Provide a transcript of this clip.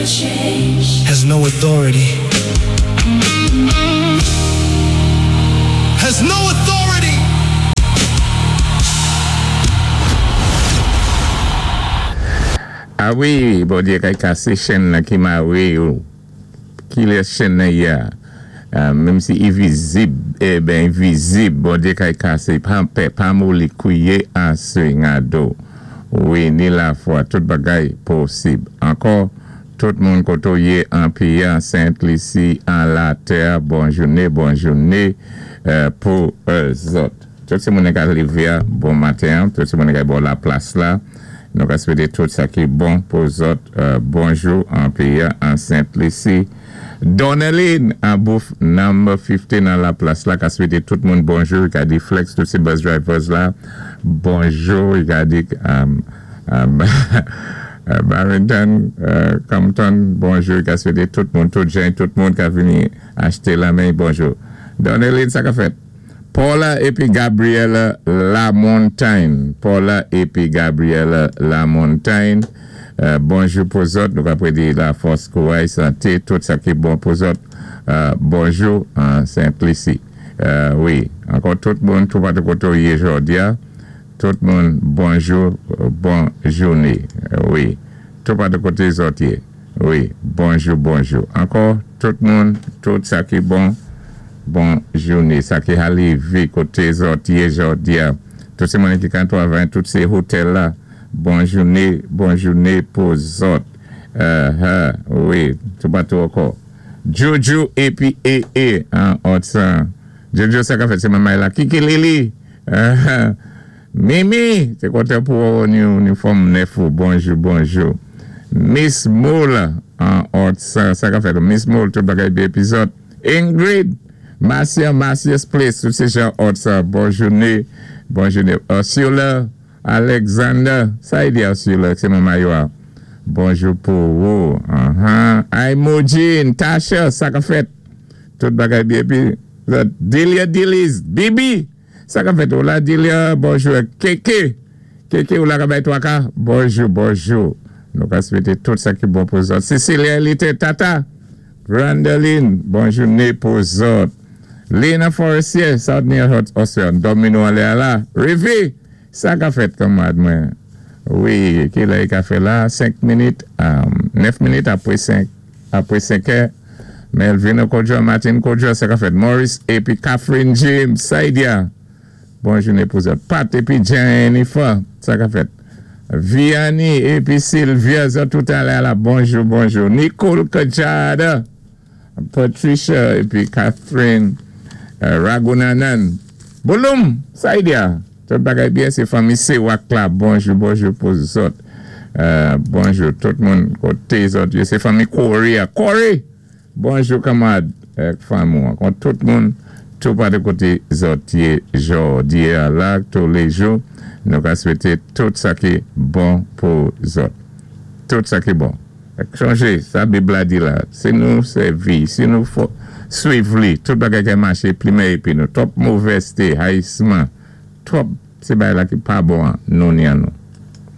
Has no authority. Has no authority. A wi Bondye kay kase chenn nan ki mare yo kilè chenn nan ye a menm si i vizib eben i vizib Bondye kay kase pa pè pa moli kwiye ase ngado wi ni lafwa tout bagay posib ankò tout moun kote w ye an peyi an Sent Lisi an latè bon joune bon joune pou zòt. Tout ti moune ka leve a bon maten an, tout ti moune ka bò la plas la, nou ka swete tout sa ki bon pou zòt bonjou an peyi a an Sent Lisi. Doneline an bouf number 15 an la plas la ka swete tout moun bonjou, li ka di Flex tout ti bus drivers la bonjou, li ka di Barrington Compton bonjou, li ka swete tout moun tout jan tout moun ka vini achte lan men bonjou. Doneline sa ka fèt? Paula epi Gabriella Lamontagne Paula epi Gabriella Lamontagne Bonjou pou zòt nou ka predi lafòs kouray sante tout sa ki bon pou zòt Bonjou Sent Lisi Wi ankò tout moun toupatou kote w ye jòdya tout moun bonjou bon joune wi toupatou kote zòt ye. Wi bonjou bonjou ankò tout moun tout sa ki bon bon joune sa ki halivi kote zòt ye jòdia tout se moun ki kan travay tout se hotel la bon joune bon joune pou zòt uh wi toupatou ankò djoudjou epi ee an òt san djoudjou sa ka fèt se manmay la kiki lili uh. Mimi te kontan pou wè w new uniform nèf ou bonjou bonjou Miss Moule an ort sa sa ka fèt Miss Moule tout bagay byen epi zòt Ingrid Marcia Marcia's place tout se jan ort sa bon joune bon joune Ursula Alexander sa y di Ursula se manman yo a bonjou pou ou anhan Imogene Tasha sa ka fèt tout bagay byen epi zòt Delia Deliz Bibi. Sa kap fèt ou la Delia bonjou Keke Keke ou la ka bay twaka bonjou bonjou nou ka swete tout sa ki bon pou zòt Cecilia Elite Tata Grandeline bon joune pou zòt Lina Forestier South New York Oswald dòmi nou anlè a la Rivi sa ka fèt kanmarad mwen wi kilè i ka fè la 5 minit 9 minit apre 5 apre 5 è Melvino Kojo Martin Kojo sa ka fèt Morris epi Catherine James Saidia bon jounen pou zòt Pat epi Jennifer sa ka fèt Vianney epi Sylvia zòt tout alè ala bonjou bonjou Nicole Kajada Patricia epi Catherine Ragunanan Bouloum Saidia Tout bagay byen se fanmi sewak la bonjou bonjou pou zòt bonjou tout moun kote zòt ye se fanmi Corey a Corey bonjou kanmarad ak fanmi w ankò tout moun tou patou kote zòt ye jòdi a la toulejou nou ka swete tout sa ki bon pou zòt tout sa ki bon sonje sa bib la di la si nou sèvi si nou swiv li tout bagay ka mache plimen epi nou twòp movèzte hayisman Twòp se bagay la ki pa bon an nou ni an nou.